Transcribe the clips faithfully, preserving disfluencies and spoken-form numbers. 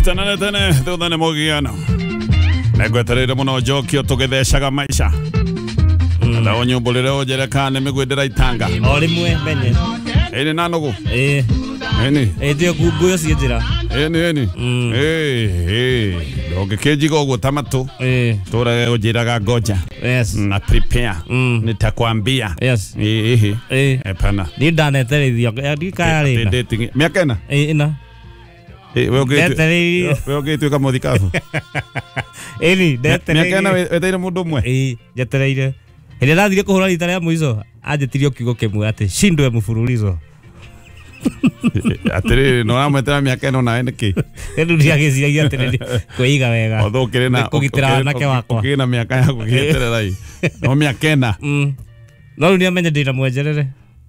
Tene tene thutha nĩ mũgiano. Nĩngwetereire mũno njokio tũgĩthecaga maica. Na ũnyumbũrĩre ũnjĩre kana nĩ mĩguĩ ndĩraitanga. O rĩmwe menye. Ĩni na nũgũ. Ĩĩ. Ĩni. Ĩĩ ndio nguyo ciĩ njĩra. Ĩni ĩni. Ĩĩ ĩĩ. Ndũngĩkĩnjiga ũguo ta matũ. Ĩĩ. Tũrage ũnjĩraga ngoja. Yes. Na prepare. Nitakwambia. Yes. Ĩĩ. Ĩĩ. Hapana. Niĩ ndaneterithio ndikaya rĩna. Dating. Mĩaka ĩna? Ĩĩ ĩna. Ĩĩ we ũngĩtua. Ndetereirie. We ũngĩtuĩka mũthikabu. Ĩni ndetereirie. Mĩaka ĩna wetereire mũndũ ũmwe? Ĩĩ njetereire. Hĩndĩ ndathire kũhũra rita rĩa mũico anjĩtirie kiugo kĩmwe atĩ shindwe mfululizo. Atĩrĩrĩ no ũramwetera mĩaka ĩno nawe nĩkĩ? Rĩu ndiagĩciragia atĩrĩrĩ kwĩiga wega. Othe ũkĩrĩ na kũgitĩra wanake wakwa. Ũkĩrĩ na mĩaka ya gũgĩeterera ĩ. No mĩaka ĩna. No rĩu nĩamenye ndĩna mwenjerere.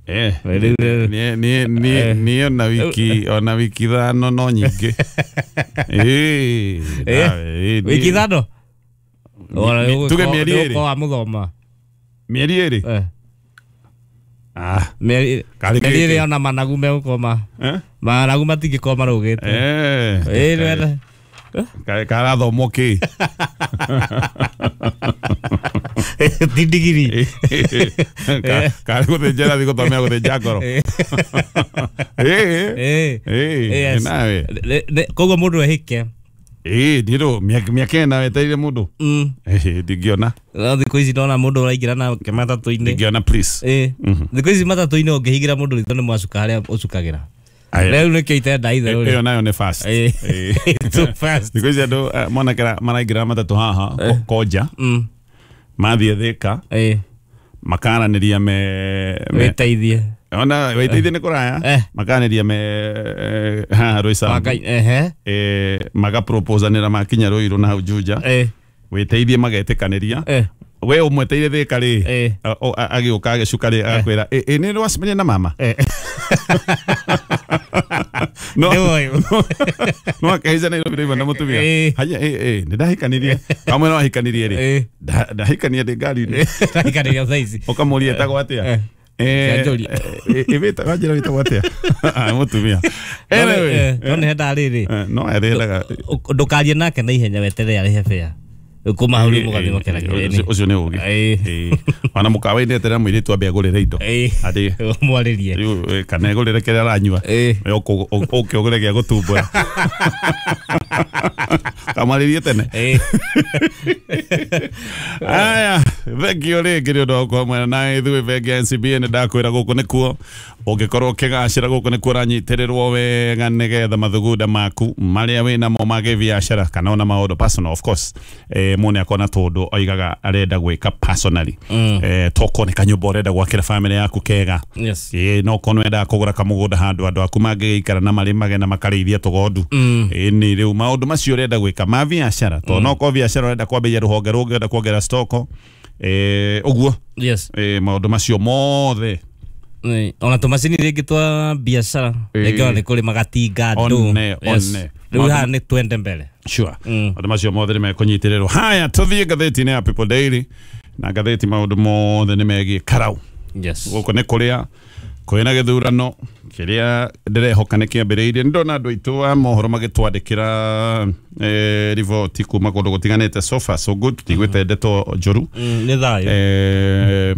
Eh. Niĩ niĩ niĩ niĩ ona wiki ona wiki ithano no nyingĩ. Ĩĩ. Wiki ithano? Tuge mĩeri ĩrĩ. Wa mũthoma. Mĩeri ĩrĩ? Eh. Ah. Mĩeri ĩrĩ ona managu megũkoma. Eh? Managu matingĩkorwo marũgĩte. Eh. Ĩĩ nĩwene. Karathomwo kĩ? Ti ndigiri. Karĩ gũthĩnja ĩrathiĩ gũthomera gũthĩnja ngoro. Ĩĩ. Ĩĩ. Nawe. Koguo mũndũ ehĩke. Ĩĩ ndirũ mĩaka ĩna wetereire mũndũ. Ĩĩ ndingĩona. No thikũ ici ndona mũndũ ũraingĩra nake matatũ-inĩ. Ndingĩona please. Ĩĩ. Thikũ ici matatũ-inĩ ũngĩhingĩra mũndũ ritho nĩ mwacuka harĩa ũcukagĩra. Rĩu nĩkĩo itenda itherũ. Ĩyo nayo nĩ fast. Ĩĩ. Too fast. Thikũ ici andũ mwanake maraingĩra matatũ haha Konja. Mathiĩ Thĩka. Ĩĩ. Makaranĩria me wĩteithie. Ona wĩteithie nĩ kũraya. Makaranĩria me haha Roysambu. Ehe. Eh magaproposanĩra makinya Ruiru na hau Juja. Ĩĩ. Wĩteithie magetĩkanĩria. We ũmweteire Thĩka rĩ agĩũka agĩcuka rĩ agakwĩra ĩ nĩ wacemania na mama. No no akahaica Nairobi rĩmwe na mũtumia. Haya ĩ ĩ nĩ ndahikanirie. Kamwe no ahikanirie rĩ. Ndahikania ndĩ ngari-inĩ. Ndahikanirie thaa ici. Ũkamũria etagwo atĩa? Eh ĩ wanjĩra wĩtagwo atĩa? Mũtumia. Anyway. No nĩ henda rĩrĩ. No arĩendaga. Ndũkarie nake na ihenya weterere arĩhe fare. Kuma hau rĩu mũgathiĩ mũkeragia. Ũcio nĩ ũgĩ. Ona mũkawa-inĩ eterera mũirĩtu ambe agũrĩre indo. Atĩ mwarĩrie. Rĩu kana egũrĩre kĩrĩa aranyua. Ũke ũgũre gĩa gũtumbũra. Kamwarĩrie tene. Aya, thengio rĩngĩ nĩ ũndũ wa gũkorwo mwena na ithuĩ bengi ya N C B A nĩ ndakwĩra gũkũ nĩkuo ũngĩkorwo ũkĩgacĩra gũkũ nĩkuo ũranyitĩrĩrwo wega nĩgetha mathugunda maku marĩa wĩnamo ma gĩbiacara kana ona maũndũ personal of course. Eh mũndũ akona tondũ oigaga arenda gwĩka personally. Eh toko nĩ kanyũmba ũrenda gwakĩra family yaku kega. Yes. Ĩĩ no kono wenda kũgũra kamũgũnda handũ andũ aku mangĩgĩikara na marĩmage na makarĩithia tũgondu. Ĩĩ nĩ rĩu maũndũ macio ũrenda gwĩka ma biacara tondũ no ko biacara ũrenda kwambĩrĩria rũhonge rũngĩ ũrenda kuongerera stoko eh ũguo. Yes. Eh maũndũ macio mothe. Ona tũmacini rĩngĩ twa biacara rĩngĩ ona nĩ kũrĩ magatinga andũ. One one. Rĩu haha nĩ twende mbere. Sure. Maũndũ macio mothe nĩ mekũnyitĩrĩrwo. Haya tũthiĩ ngathĩti-inĩ ya People Daily na ngathĩti maũndũ mothe nĩ megiĩ karau. Yes. Gũkũ nĩ kũrĩa kwĩna gĩthurano kĩrĩa ndĩrehoka nĩ kĩambĩrĩirie. Nĩndona andũ aitũ a mohoro magĩtwandĩkĩra eh riboti kuma kũndũ gũtiganĩte. So far so good, tũtigwĩte ndeto njũru. Nĩ thayũ. Eh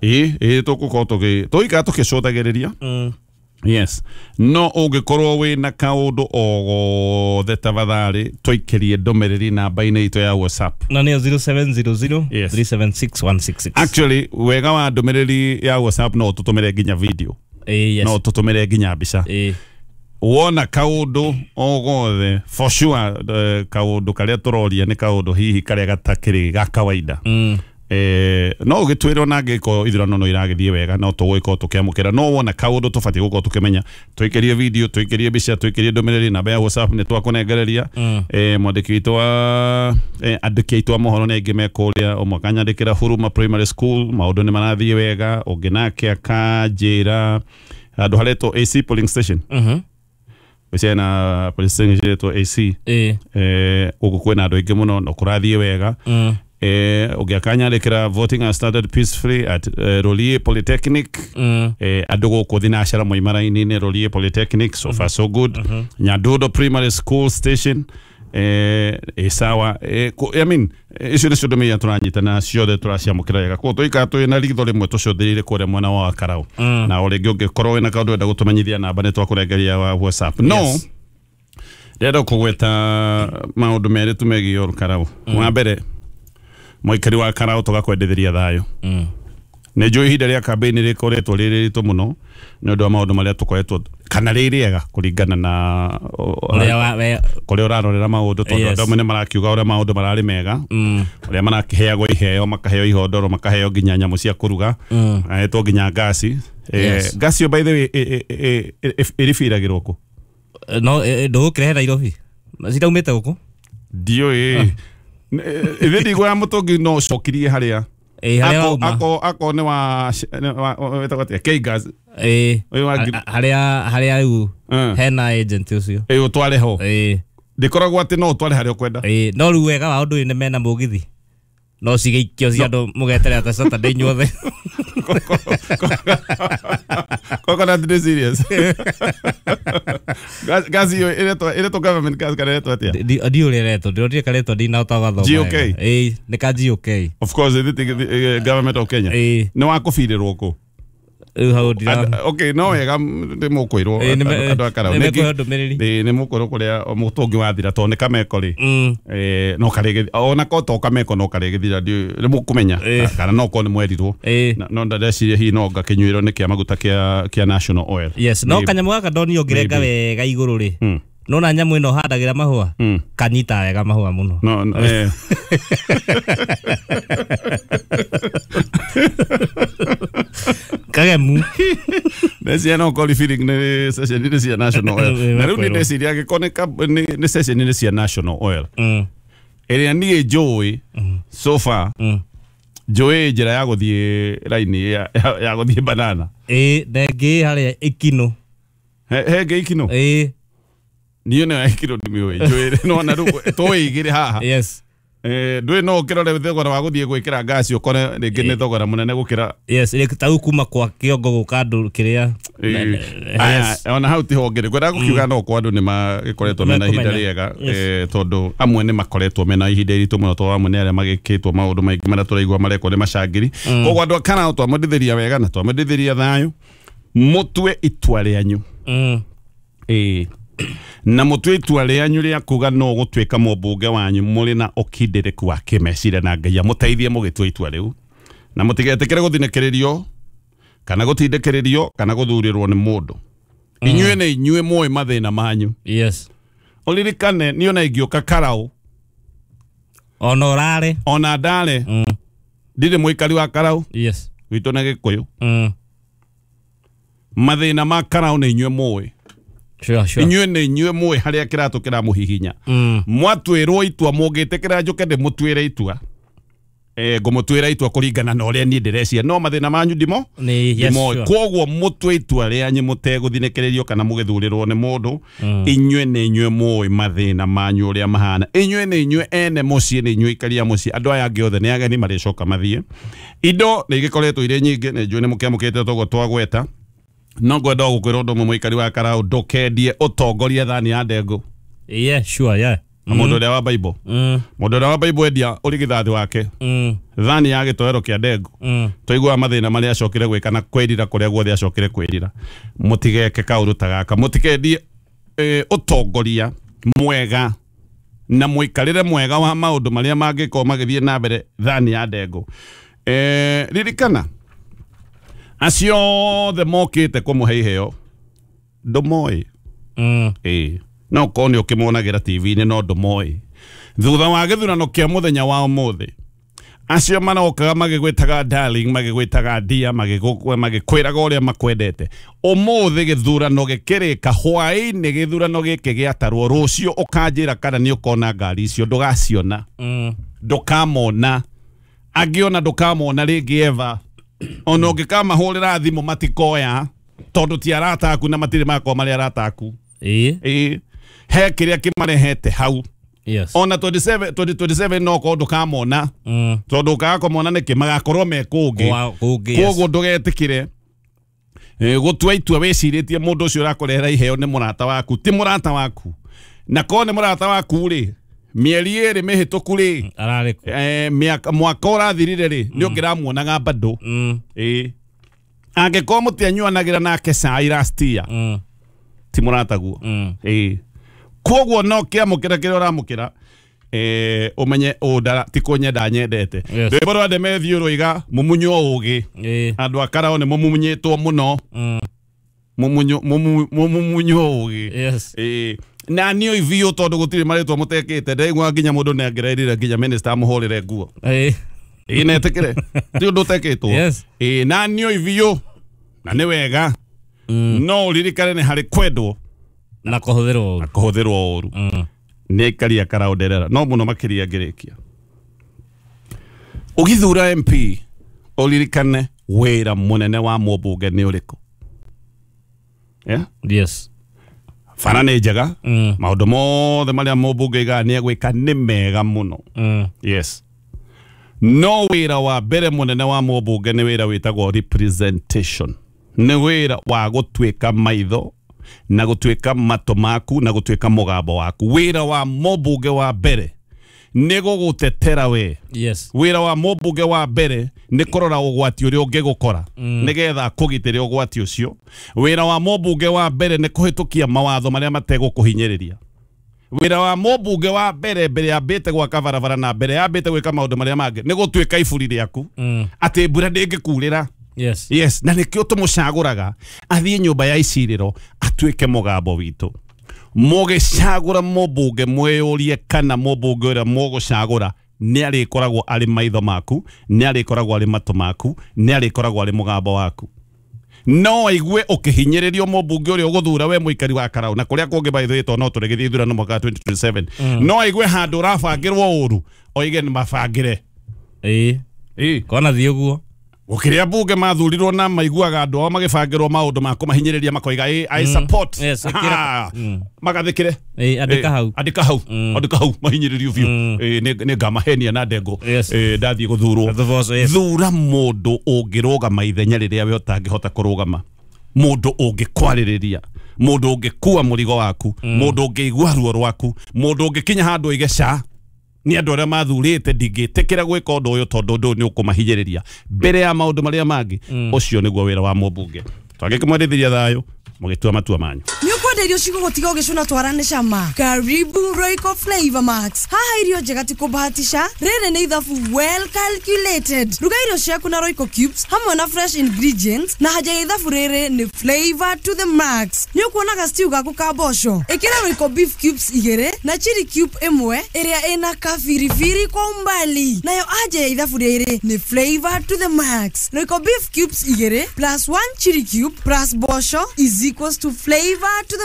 ĩĩ ĩĩ tũgũkorwo tũgĩ tũgĩikara tũkĩcũthagĩrĩria. Yes. No ũngĩkorwo wĩna kaũndũ o gothe tafadhali tũikĩrie ndũmĩrĩri namba-inĩ itũ ya WhatsApp. Na nĩyo zero seven zero zero three seven six one six six. Actually wega wa ndũmĩrĩri ya WhatsApp no ũtũtũmĩre nginya video. Yes. No ũtũtũmĩre nginya mbica. Wona kaũndũ o gothe for sure kaũndũ karĩa tũroria nĩ kaũndũ hihi karĩa gatakĩrĩ ga kawaida. Eh no ũgĩtwĩrwo na angĩkorwo ithurano no iragĩthiĩ wega no tũgũgĩkorwo tũkĩamũkĩra no wona kaũndũ tũbatiĩ gũkorwo tũkĩmenya tũikĩrie video tũikĩrie mbica tũikĩrie ndũmĩrĩri namba ya WhatsApp nĩ twakũnengereria. Eh mwandĩki witũ wa andĩki aitũ a mohoro nĩ aingĩ me kũrĩa ũmwe akanyandĩkĩra Huruma Primary School maũndũ nĩ marathiĩ wega ũngĩ nake akanjĩra handũ haretwo A C polling station. Mhm. Wĩciana polling station ĩretwo A C. Eh gũkũ kwĩna andũ aingĩ mũno no kũrathiĩ wega. Eh, ũngĩakanyandĩkĩra voting has started peacefully at uh, Rolie Polytechnic. Mm. Eh, andũ gũkũ thinacara moima raini-inĩ Rolie Polytechnic, so far so good. Nyandundo Primary School Station eh, ĩ sawa. Eh, kũ- I mean, eh, icio nĩcio ndũmĩrĩri tũranyita na ciothe tũraciamũkĩra wega. Koguo tũikara twĩ na ritho rĩmwe tũcũthĩrĩire kũrĩa mwena wa Karau. Na o rĩngĩ ũngĩkorwo wĩna kaũndũ wenda gũtũmenyithia namba nĩ twakũrengeria wa WhatsApp. No Yes. ndĩrenda kũgweta maũndũ merĩ tu megiĩ Karau. Wa mbere, mũikari wa Karau tũgakwendithĩria thayũ. Mm. Nĩ njũĩ ihinda rĩa campaign rĩkoretwo rĩrĩ rĩritũ mũno nĩ ũndũ wa maũndũ marĩa tũkoretwo kana rĩ rĩega kũringana na Ũrĩa wa we kũrĩa ũrarorera maũndũ tondũ Yes. andũ amwe nĩ marakiuga ũrĩa maũndũ mararĩ mega, mm. ũrĩa marakĩheagwo iheo, makaheo ihondoro, makaheo nginya nyamũ cia kũruga, Mm. ahetwo nginya ngasi. Eh, Yes. ngasi ĩyo by the way ĩ- ĩ- ĩ- ĩ- ĩribiragĩrwo kũ? No ndũgũkĩrehe Nairobi ciraumĩte gũkũ. Ndiũĩ ithe ndigwa ya mũtũngi no ũcokirie harĩa Ĩ, harĩa Ako- wauma. ako ako nĩ wa nĩ wa- wĩtagwo atĩa? K-gas. Ĩ, Ũyũ wa ngiri- harĩa harĩa rĩu Eh. hena agent ũcio. Ĩ, ũtware ho. Ĩ. Ndĩkoragwo atĩ no ũtware harĩa ũkwenda. Ĩ, no rĩu wega wa ũndũ ũyũ nĩ mena mũgithi no cigĩikio cia andũ mũgeterera ta Saturday inyuothe. Coconut nĩ serious. Gas- gas ĩyo ĩretwo ĩretwo government gas kana ĩretwo atĩa? Ndi- ndiũ ũrĩa ĩretwo, ndĩronire karetwo ndinahota gathoma G O K? wega. Ĩ, nĩ ka G O K. Of course, ĩthĩ ti- eh, government of Kenya. Ĩ. Nĩ wa kũbirĩrwo kũ? Rĩu hau ndira Andũ- okay, no wega nĩ mũkwĩrwo Ĩ, nĩ- andũ a Karau. nĩ Nĩ mekũheo ndũmĩrĩri. Ĩ, nĩ mũkwĩrwo kũrĩa mũtũngi wathira tondũ nĩ kameko rĩ. Mm. Eh, no karĩgĩthi ona ko to kameko no karĩgĩthira ndiũĩ nĩ mũkũmenya Ĩ. kana no korwo nĩ mwerirwo. Ĩ. Na- no ndeciria hihi no ngakĩnyuĩrwo nĩ kĩa maguta kĩa kĩa National Oil. Yes, no Maybe. kanyamũ gaka ndonio ngĩrenga Maybe. wega igũrũ rĩ. Mm. Nona nyamũ ĩno handagĩra mahũa Mm. kanyita wega mahũa mũno. No, no, eh. Kagemu. Ndeciria no korwo feeling nĩ ceceni-inĩ cia National Oil. Ĩ, Na rĩu mekwĩrwo. nĩ ndeciria angĩkorwo nĩ kab- nĩ nĩ ceceni-inĩ cia National Oil Mm. ĩrĩa niĩ njũĩ so far, Mm. njũĩ njĩra ya gũthiĩ raini ya, ya, ya gũthiĩ banana. Ĩ, na ĩngĩ harĩa Ikinũ. He he ngĩ Ikinũ? Ĩ. Niĩ nĩyo Ikinũ ndimĩũĩ. Njũĩ no na rĩu tũĩ igĩrĩ haha. Yes. Eh, ndũĩ no ũkĩrore thogora wa gũthiĩ gwĩkĩra ngasi ũkore rĩngĩ nĩ thogora mũnene gũkĩra. Yes, ĩ, ta rĩu kuma kwa kĩongo gũka andũ kĩrĩa. Eh, Yes. aya, ona hau tiho ngĩrĩ ngwendaga gũkiuga no kwa andũ nĩ magĩkoretwo mena ihinda Mekũmenya. rĩega, Yes. eh, tondũ amwe nĩ makoretwo mena ihinda iritũ mũno tondũ amwe nĩ arĩa magĩkĩtwo maũndũ maingĩ marĩa tũraigua marekwo nĩ macangiri. Koguo andũ a Karau twamwendithĩria wega na twamwendithĩria thayũ, mũtue itua rĩanyu. Mm. Ĩĩ, na mũtue itua rĩanyu rĩa kuga no gũtuĩka mũmbunge wanyu mũrĩ na ũkindĩrĩku wa kĩmeciria na Ngai amũteithie mũgĩtua itua rĩu, na mũtigetĩkĩre gũthinĩkĩrĩrio kana gũtindĩkĩrĩrio kana gũthurĩrwo nĩ mũndũ. Inyuĩ nĩ inyuĩ mũĩ mathĩna manyu. Yes. Ũririkane niĩ ona ingĩũka Karau Ona ũrare. Ona ndare Mm. ndirĩ mũikari wa Karau. Yes. Gwitũ nĩ Gĩkũyũ. Mm. Mathĩna ma Karau nĩ inyuĩ mũĩ. Sure, sure. Inyuĩ nĩ inyuĩ mũĩ harĩa kĩratũ kĩramũhihinya. Mm. Mwatuĩrwo itua mũngĩtĩkĩra njũke ndĩmũtuĩre itua, eh, ngũmũtuĩra itua kũringana na ũrĩa niĩ ndĩreciria no mathĩna manyu ndimo Nĩ, yes, ndimoĩ. sure. Koguo mũtue itua rĩanyu mũtegũthinĩkĩrĩrio kana mũgĩthurĩrwo nĩ mũndũ. Inyuĩ nĩ inyuĩ mũĩ mathĩna manyu ũrĩa mahana. Inyuĩ nĩ inyuĩ ene mũciĩ, nĩ inyuĩ ikaria mũciĩ. Andũ aya angĩ othe nĩ ageni marĩcoka mathiĩ. Indo nĩ igĩkoretwo irĩ nyingĩ, nĩ njũĩ nĩ mũkĩamũkĩte toguo twagweta. No ngwenda o gũkwĩra ũndũ ũmwe mũikari wa Karau, ndũkendie ũtongoria thani ya ndengũ. Yeah, sure, yeah. Na mũndũ ũrĩa wa Bible, Mm. mũndũ ũrĩa wa Bible endia ũrigithathi wake Mm. thani ya gĩtoero kĩa ndengũ. Mm. Twaiguaga mathĩna marĩa acokire gwĩka na kwĩrira kũrĩa guothe acokire kwĩrira. Mũtigeke kaũndũ ta gaka, mũtikendie eh, ũtongoria mwega na mũikarĩre mwega wa maũndũ marĩa mangĩkorwo magĩthiĩ na mbere thani ya ndengũ. Eh, ririkana acio othe mokĩte kũmũhe iheo ndũmoĩ. Mm. Ĩĩ, no korwo nĩ ũkĩmonagĩra T V-inĩ no ndũmoĩ. Thutha wa gĩthurano kĩa mũthenya wa ũmũthĩ, acio marokaga magĩgwĩtaga darling, magĩgwĩtaga dear, magĩgũ-, magĩkwĩraga ũrĩa makwendete, ũmũthĩ gĩthurano gĩkĩrĩka hwaĩ-inĩ, gĩthurano gĩkĩ gĩatarwo, rũciũ ũkanjĩra kana nĩ ũkona ngari icio, ndũgaciona. Mm. Ndũkamona. Angĩ ona ndũkamona rĩngĩ eva. Ona ũngĩkamahũrĩra thimũ matikoya tondũ ti arata aku na matirĩ makorwo marĩ arata aku. Ĩĩ. Ĩĩ, he kĩrĩa kĩmarehete hau. Yes. Ona twenty-seven twenty twenty-seven no ko ndukamona. Mm. Tondu ukaga niki magakorwo me kungi. Kungi. Yes. Koguo ndugetikire gutua itua wiciritie mundu ucio urakurehera iheo ni murata waku ti murata waku na ko ni murata waku ri mieri iri mihituku ri arari eh mwaka urathirire ri ni ungiramuonaga bado mm. eh angĩkorwo mũtianyuanagĩra nake cai last year mm. ti mũrataguo mm. eh koguo no kĩamũkĩra kĩrĩa ũramũkĩra eh umenye ũndara ti kũnyenda nyendete Yes. rwĩmbo rwa Demethiũ rũiga mumunywo ũgĩ eh andũ a Karao nĩ mumunyĩtwo mũno mm. mumunyo mumunywo ũgĩ Yes. eh na niĩ biũ tondũ gũtirĩ marĩtwa mũtekĩte ndaigua nginya mũndũ nĩ angĩrairire nginya minister amũhũrĩre nguo eh ĩ netĩkĩre ti ũndũ ũtekĩtwo Yes. ĩ na niĩ biũ na nĩ wega mm. no ũririkane nĩ harĩ kwendwo na kũhũthĩrwo na kũhũthĩrwo ũru mm. nĩ aikari a Karao nderera no mũno makĩria ngĩrĩkia ũgĩthura M P ũririkane wĩra mũnene wa mũmbunge nĩ ũrĩkũ yeah? Yes. Bara nĩ njega mm. maũndũ mothe marĩa mũmbunge aigaga nĩ egwĩka nĩ mega mũno mm. yes no wĩra wa mbere mũnene wa mũmbunge nĩ wĩra wĩtagwo representation nĩ wĩra wa gũtuĩka maitho na gũtuĩka matũ maku na gũtuĩka mũgambo waku wĩra wa mũmbunge wa mbere nĩ gũgũtetera we Yes. wĩra wa mũmbunge wa mbere nĩ kũrora ũgwati ũrĩa ũngĩgũkora mm. nĩgetha akũgitĩre ũgwati ũcio wĩra wa mũmbunge wa mbere nĩ kũhĩtũkia mawatho marĩa mategũkũhinyĩrĩria wĩra wa mũmbunge wa mbere mbere yambĩte gwaka barabara na mbere yambĩte gwĩka maũndũ marĩa mangĩ nĩ gũtuĩka iburi rĩaku mm. atĩ mbura ndĩngĩkurĩra Yes. yes na nĩkĩo tũmũcagũraga athiĩ nyũmba ya icirĩro atuĩke mũgambo witũ mũgĩcagũra mũmbunge mwĩyũrie kana mũmbunge ũrĩa mũgũcagũra nĩ arĩkoragwo arĩ maitho maku nĩ arĩkoragwo arĩ matũ maku nĩ arĩkoragwo arĩ mũgambo waku no aigue ũkĩhinyĩrĩrio mũmbunge ũrĩa ũgũthura we mũikari wa Karau na kũrĩa kũngĩ by the way tondũ no tũrĩgĩthiĩ ithurano mwaka wa twenty twenty-seven mm. no aigue handũ ũrabangĩrwo ũru oige nĩ mabangĩre ĩĩ ĩĩ kona thiĩ ũguo gũkĩrĩa mbunge mathurirwo na maiguaga andũ ao magĩbangĩrwo maũndũ ma kũmahinyĩrĩria makoiga ĩ I support Yes, ĩkĩra- mm. magathĩkĩre ĩĩ andĩka hau andĩka hau andĩka hau mahinyĩrĩrio biũ Mm. Ĩ, nĩ nĩ ngamahenia na ndengũ Yes. Ĩ, ndathiĩ gũthurwo Thuboco, yes. thura mũndũ ũngĩrũgama ithenya rĩrĩa we ũtangĩhota kũrũgama mũndũ ũngĩkwarĩrĩria mũndũ ũngĩkua mũrigo waku mũndũ ũngĩigua ruo rwaku mũndũ ũngĩkinya handũ oige ca nĩ andũ arĩa mathurĩte ndingĩtĩkĩra gwĩka ũndũ ũyũ tondũ ũndũ ũyũ nĩ ũkũmahinyĩrĩria mbere ya maũndũ marĩa mangĩ ũcio nĩguo wĩra wa mũmbunge twangĩkĩmwendithĩria thayũ mũgĩtua matua manyu nĩ ũkwenda irio cigũgũtiga ũgĩcũna twara nĩ cama karibu Royco Flavor Max haha irio njega ti kũbahatisha rĩrĩ nĩ ithabu well calculated ruga irio ciaku na Royco cubes hamwe na fresh ingredients na haja ya ithabu rĩrĩ nĩ flavor to the max nĩ ũkuonaga stew gaku ka mboco ĩkĩra Royco beef cubes igĩrĩ na chili cube ĩmwe ĩrĩa ĩna kabiribiri kwa umbali nayo anja ya ithabu rĩrĩ nĩ flavor to the max Royco beef cubes igĩrĩ plus one chili cube plus mboco is equals to flavor to the